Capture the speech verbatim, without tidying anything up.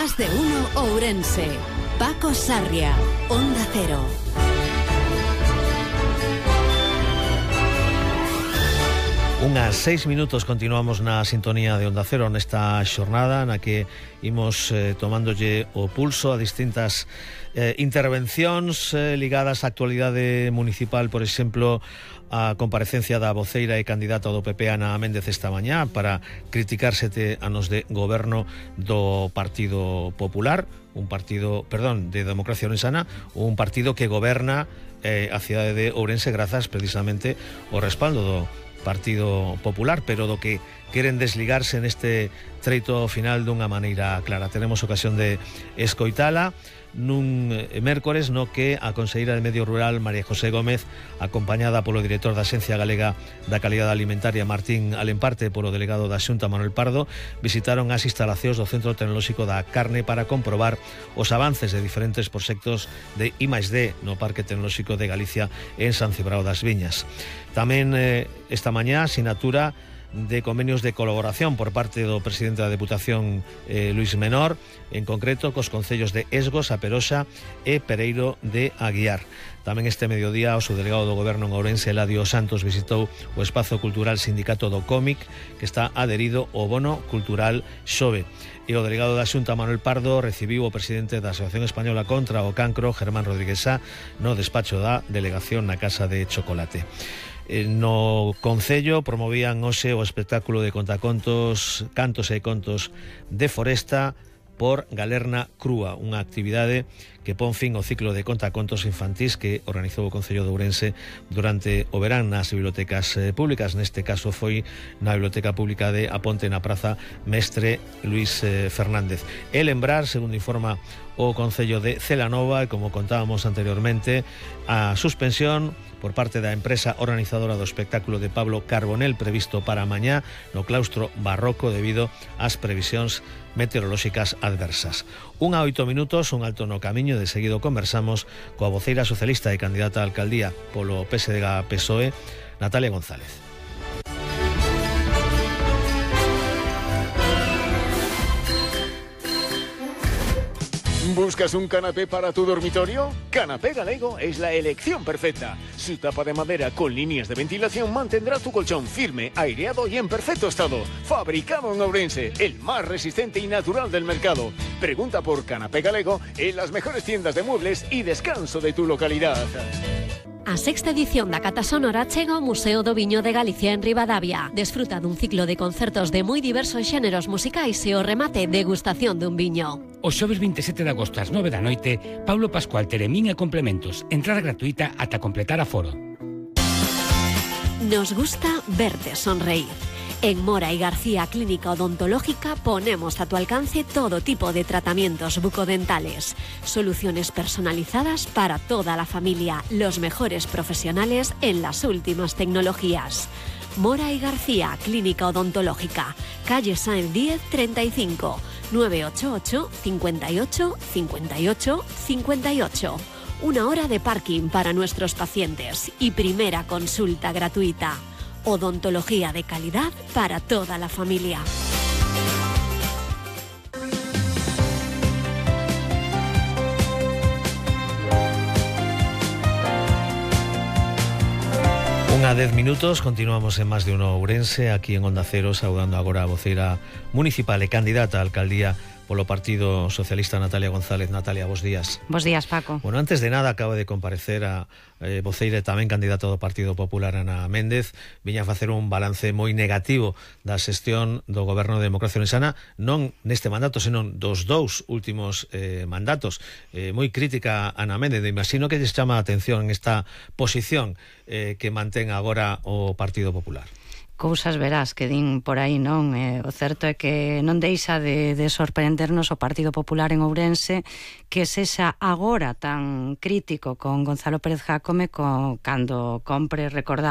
Más de uno Ourense. Paco Sarria, Onda Cero. Unhas seis minutos continuamos na sintonía de Onda Cero nesta xornada na que imos eh, tomándolle o pulso a distintas eh, intervencións eh, ligadas á actualidade municipal, por exemplo, a comparecencia da voceira e candidata do P P, Ana Méndez, esta mañá para criticar sete anos de goberno do Partido Popular, un partido, perdón, de Democracia Orensana, un partido que goberna eh, a cidade de Ourense grazas precisamente ao respaldo do Partido Popular, pero do que queren desligarse neste treito final dunha maneira clara. Teremos ocasión de escoitala nun mércores no que a conselleira de Medio Rural, María José Gómez, acompañada polo director da Axencia Galega da Calidade Alimentaria, Martín Alemparte, polo delegado da Xunta, Manuel Pardo, visitaron as instalacións do Centro Tecnolóxico da Carne para comprobar os avances de diferentes proxectos de I máis D no Parque Tecnolóxico de Galicia en San Cibrao das Viñas. Tamén eh, esta mañá sinatura de convenios de colaboración por parte do presidente da Deputación, eh, Luís Menor, en concreto cos concellos de Esgos, A Peroxa e Pereiro de Aguiar. Tamén este mediodía o subdelegado do Goberno en Ourense, Eladio Santos, visitou o Espazo Cultural Sindicato do Cómic, que está adherido ao Bono Cultural Xove. E o delegado da Xunta, Manuel Pardo, recibiu o presidente da Asociación Española contra o Cancro, Germán Rodríguez Sá, no despacho da delegación na Casa de Chocolate. No Concello promovían hoxe o espectáculo de contacontos, cantos e contos de Foresta por Galerna Crúa, unha actividade que pon fin ao ciclo de contacontos infantís que organizou o Concello de Ourense durante o verán nas bibliotecas públicas. Neste caso foi na Biblioteca Pública de A Ponte, na Praza Mestre Luís Fernández. E lembrar, segundo informa o Concello de Celanova, e como contábamos anteriormente, a suspensión por parte da empresa organizadora do espectáculo de Pablo Carbonell previsto para mañá no claustro barroco debido ás previsións meteorolóxicas adversas. Un a oito minutos, un alto no camiño, de seguido conversamos coa voceira socialista e candidata a alcaldía polo P S D G P S O E, Natalia González. ¿Buscas un canapé para tu dormitorio? Canapé Galego es la elección perfecta. Su tapa de madera con líneas de ventilación mantendrá tu colchón firme, aireado y en perfecto estado. Fabricado en Ourense, el más resistente y natural del mercado. Pregunta por Canapé Galego en las mejores tiendas de muebles y descanso de tu localidad. A sexta edición da Cata Sonora chega ao Museo do Viño de Galicia en Ribadavia. Desfruta dun ciclo de concertos de moi diversos xéneros musicais e o remate degustación dun viño. O xoves vinte e sete de agosto ás nove da noite, Paulo Pascual, Teremín e complementos. Entrada gratuita ata completar aforo. Nos gusta verte sonreír. En Mora y García Clínica Odontológica ponemos a tu alcance todo tipo de tratamientos bucodentales, soluciones personalizadas para toda la familia, los mejores profesionales en las últimas tecnologías. Mora y García Clínica Odontológica, calle Sáenz diez treinta y cinco, nueve ocho ocho, cinco ocho, cinco ocho, cinco ocho. Una hora de parking para nuestros pacientes y primera consulta gratuita. Odontología de calidad para toda la familia. Unha dez minutos, continuamos en Más de uno Ourense, aquí en Onda Cero, saudando agora a voceira municipal e candidata a alcaldía polo Partido Socialista, Natalia González. Natalia, bos días. Bos días, Paco. Bueno, antes de nada, acaba de comparecer a eh, voceira e tamén candidata do Partido Popular, Ana Méndez. Viña a facer un balance moi negativo da xestión do Goberno de Democracia Orensana, non neste mandato, senón dos dous últimos eh, mandatos. Eh, moi crítica Ana Méndez, imagino que lles chama a atención esta posición eh, que mantén agora o Partido Popular. Cousas verás que din por aí, non? Eh, o certo é que non deixa de, de sorprendernos o Partido Popular en Ourense que sexa agora tan crítico con Gonzalo Pérez Jácome co, cando compre recordar